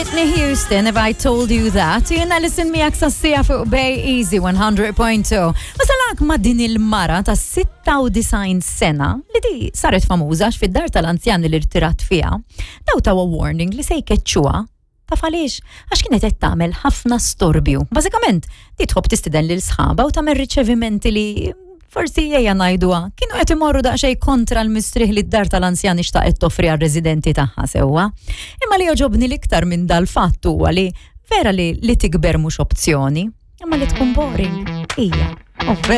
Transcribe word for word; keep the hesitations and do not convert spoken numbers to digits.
Whitney Houston, If I Told You That, jiena Alison miegħek sas-siegħa fuq Bay Easy one hundred point two. Wasalak ma' din il-mara ta' sitta u disgħin sena li di saret famuża għax fid-dar tal-anzjani li rtirat fiha, daw tawa warning li se jkeċċuha. Taf għaliex? Għax kienet qed tagħmel ħafna storbju. Bażikament, di tħobb tistiden lil sħaba u tagħmel riċevimenti li forsi, ejja ngħiduha, kienu qed imorru daqsxejn kontra l-mistrieħ li d-dar tal-anzjani xtaqet toffri għar-residenti tagħha sewwa. Imma li joġobni l-iktar minn dal-fatt huwa li vera li li tikber mhux opzjoni, imma li tkun boring hija. Oh, vera.